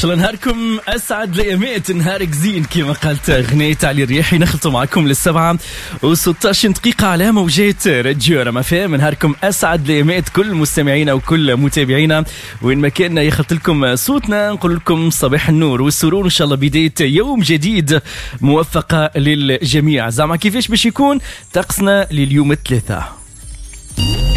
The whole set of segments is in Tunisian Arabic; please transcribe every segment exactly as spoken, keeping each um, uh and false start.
شاء الله نهاركم اسعد الايامات، نهارك زين كما قالت غنية علي الرياحي. نخلطوا معكم للسبعة وستاش دقيقة على موجات راديو رما فام. نهاركم اسعد الايامات كل مستمعينا وكل متابعينا وين ما كان يخلط لكم صوتنا، نقول لكم صباح النور والسرور، ان شاء الله بداية يوم جديد موفقة للجميع. زعما كيفاش باش يكون طقسنا لليوم الثلاثاء؟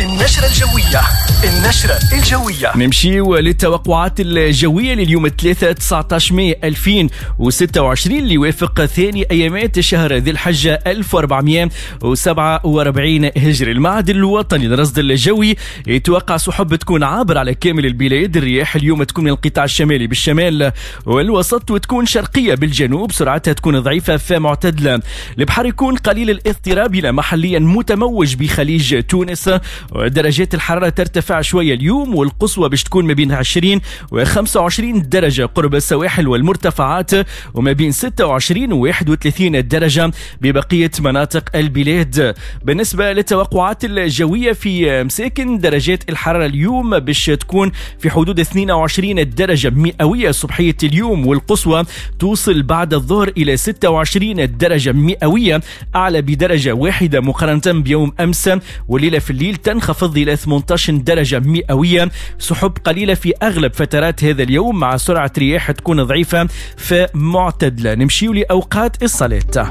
النشرة الجوية، النشرة الجوية. نمشيو للتوقعات الجوية لليوم الثلاثاء تسعطاش ماي ألفين وستة وعشرين اللي يوافق ثاني أيامات شهر ذي الحجة ألف وأربعمية وسبعة وأربعين هجري. المعهد الوطني للرصد الجوي يتوقع سحب تكون عابرة على كامل البلاد. الرياح اليوم تكون من القطاع الشمالي بالشمال والوسط وتكون شرقية بالجنوب، سرعتها تكون ضعيفة فمعتدلة. البحر يكون قليل الاضطراب إلى محليا متموج بخليج تونس. درجات الحرارة ترتفع شوية اليوم، والقصوى باش تكون ما بين عشرين و خمسة وعشرين درجة قرب السواحل والمرتفعات، وما بين ستة وعشرين و واحد وثلاثين درجة ببقية مناطق البلاد. بالنسبة للتوقعات الجوية في مساكن، درجات الحرارة اليوم باش تكون في حدود اثنين وعشرين درجة مئوية صبحية اليوم، والقصوى توصل بعد الظهر إلى ستة وعشرين درجة مئوية، أعلى بدرجة واحدة مقارنة بيوم أمس. والليلة في الليل تنخفض إلى ثمانية عشر درجة مئوية. سحب قليلة في أغلب فترات هذا اليوم مع سرعة رياح تكون ضعيفة فمعتدلة. نمشيو لأوقات الصلاة.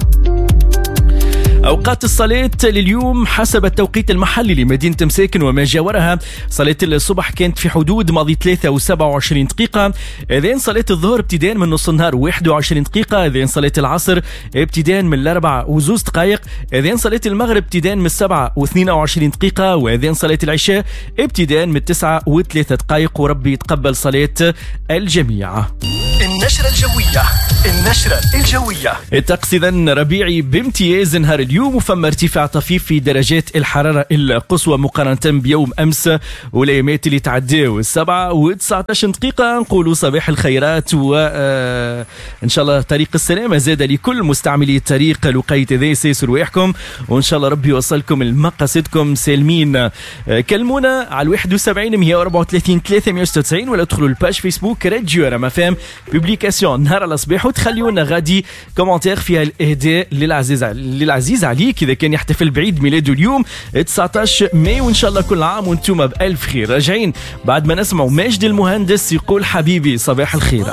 أوقات الصلاة لليوم حسب التوقيت المحلي لمدينة مساكن وما جاورها: صلاة الصبح كانت في حدود ماضي ثلاثة وسبعة وعشرين دقيقة، أذان صلاة الظهر ابتداء من نص النهار واحد وعشرين دقيقة، أذان صلاة العصر ابتداء من الأربعة وزوز دقائق، أذان صلاة المغرب ابتداء من السبعة واثنين وعشرين دقيقة، وأذان صلاة العشاء ابتداء من التسعة وثلاثة دقائق. وربي يتقبل صلاة الجميع. النشرة الجوية، النشرة الجوية. الطقس إذن ربيعي بامتياز نهار اليوم، وفما ارتفاع طفيف في درجات الحرارة القصوى مقارنة بيوم أمس والأيامات اللي تعداو. السبعة وتسعتاش دقيقة نقولوا صباح الخيرات، وإن شاء الله طريق السلامة زاد لكل مستعملي الطريق. لقيت ذي سيسر رواحكم، وإن شاء الله ربي يوصلكم لمقاصدكم سالمين. كلمونا على واحد وسبعين مية وأربعة وثلاثين ثلاثمية وستة وتسعين ولا ادخلوا ال page فيسبوك راديو رما فام publication نهار على صباح، وتخليونا غادي commentaire فيها الاهداء للعزيز للعزيز عليك اذا كان يحتفل بعيد ميلاده اليوم تسعطاش ماي. وان شاء الله كل عام وانتم بالف خير. راجعين بعد ما نسمعوا ماجد المهندس يقول حبيبي صباح الخير.